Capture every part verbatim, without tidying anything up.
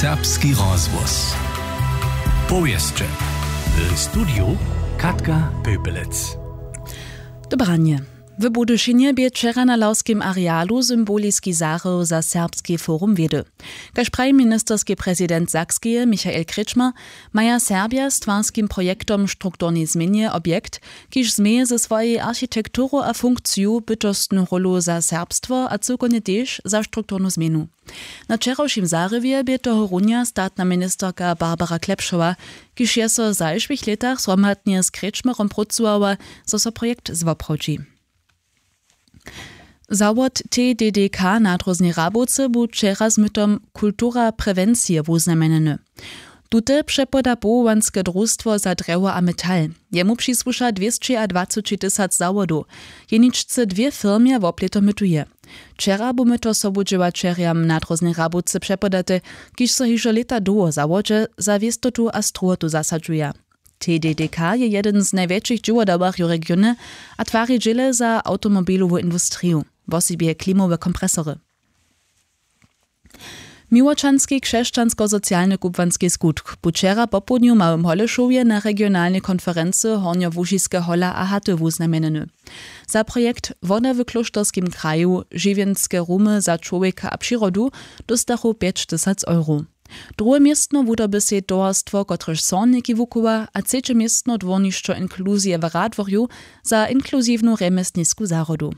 Serbski rozhłos. Powěsće. W studiju Katka Pöpelec. Dobranje. W Budyšinje bě wčera na lawskim arealu symboliski zahrył za Serbski forum wědy. Kaž praji ministerski prezident Sakskeje Michael Kretschmer, maja Serbja z twarskim projektom strukturnej změnje objekt, kiž změje ze swojej architekturu a funkciju bytostnu rólu za serbstwo a cyłkownje tež za strukturnu změnu. Na wčerawšim zahriwje bě tohorunja statna ministerka Barbara Klepšowa, kiž je so w zašłych lětach zhromadnje z Kretschmerom prócowała, zo so projekt zwoprawdźi. Zawod T D D K na dróznej Rabowce bu wčera z mytom Kultura prewencije wuznamjenjeny. Tute přepoda powołanske drustwo za drjewo a metal. Jemu přisłuša dwěsćiadwaceći tysac zawodow. Jeničce dwě firmje woplěto mytuje. Wčera bu myto sobudźěłaćerjam na dróznej Rabowce přepodate, kiž so hižo lěta dołho zawodźe za wěstotu a strowotu zasadźuja. T D D K je jedyn z najwjetšich dźěłodawarjow regionje a twari dźěle za awtomobilowu industriju, wosebje klimowe kompresory. Miłočanski křesćansko-socialny kubłanski skutk bu wčera popołdnju w Małym Holešowje na regionalnej konferency Hornjołužiske hola a haty wuznamjenjeny. Za projekt Woda w klóšterskim kraju, žiwjenske rumy za čłowjeka a přirodu dóstachu pjećtysac euro. Druhe městno wudoby sej towarstwo, kotrež zhorniki wuchowa, a třeće městno dwórnišćo inkluzije w Radworju za inkluziwnu rjemjesnisku zahrodu.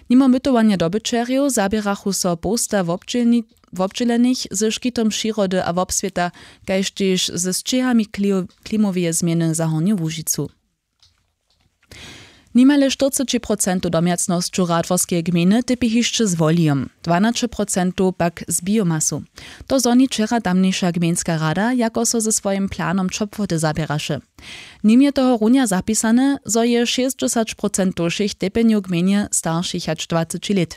Nimo mytowanja dobyćerjow zaběrachu so połsta wobdźělni-, wobdźělenych ze škitom přirody a wobswěta, kaž tež ze sćěhami klio-, klimoweje změny za Hornju Łužicu. Nimale štyrceći procentow domjacnosćow Radworskeje gmejny typi hišće z wolijom, dwanaće procentow pak z biomasu. To zhoni wčera tamniša gmejnska rada, jako so ze swojim planom ćopłoty zaběraše. Nim je tohorunja zapisane, zo je šěsćdźesać procentow wšěch typjenjow w gmejnje staršich hač dwaceći lět.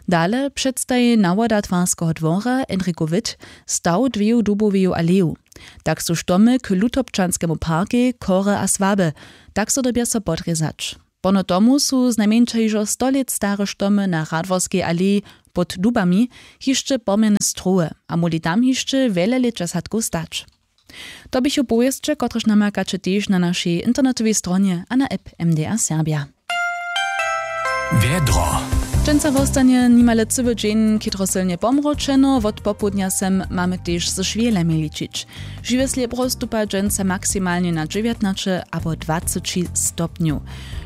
Dale předstaji nawoda twarskeho dwora Enrico Witt staw dweju duboweju aleju. Tak su štomy k Lutobčanskemu parkej, chory a słabe, tak so dyrbja so podrězać. Pono tomu su znajmjeńša hižo sto lět stare štomy na Radworskej aleji pod dubami hišće pomjene strowe a móhli tam hišće wjele lěća sadkow stać. To běchu powěsće, kotrež namakaće tež na našej internetowej stronje a na app M D R Serbja. Wjedro. Dźensa wostanje nimale cyły dźeń chětrosylnje pomročeno, wot popołdnja sem mamy tež ze šwělemi ličić. Žiwje slěbro stupa dźensa maksimalnje na dźewjatnaće abo dwaceći stopnjow.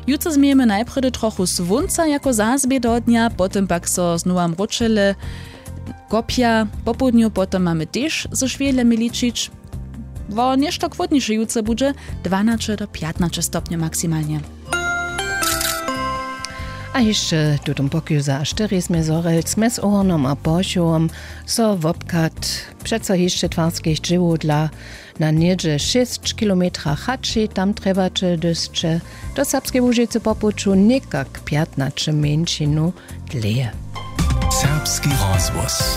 Jutře změjemy najprjedy trochu słónca jako zazběh do dnja, potom pak so znowa mróčele kopja. Popołdnju potom mamy tež ze šwělemi ličić. Wo něšto chłódniše jutře budźe, dwanaće do pjatnaće stopnjow maksimalnje. A hišće tutom pokoju za štyri smy Zhorjelc mjez Ohornom a Porchowom so wobchad přeco hišće twarskich dźěłow dla na něhdźe šěsć kilometrach hači. Tam trjebaće, hdyž sće do Serbskeje Łužicy po puću, někak pjatnaće mjeńšinu dlěje. Serbski rozhłos.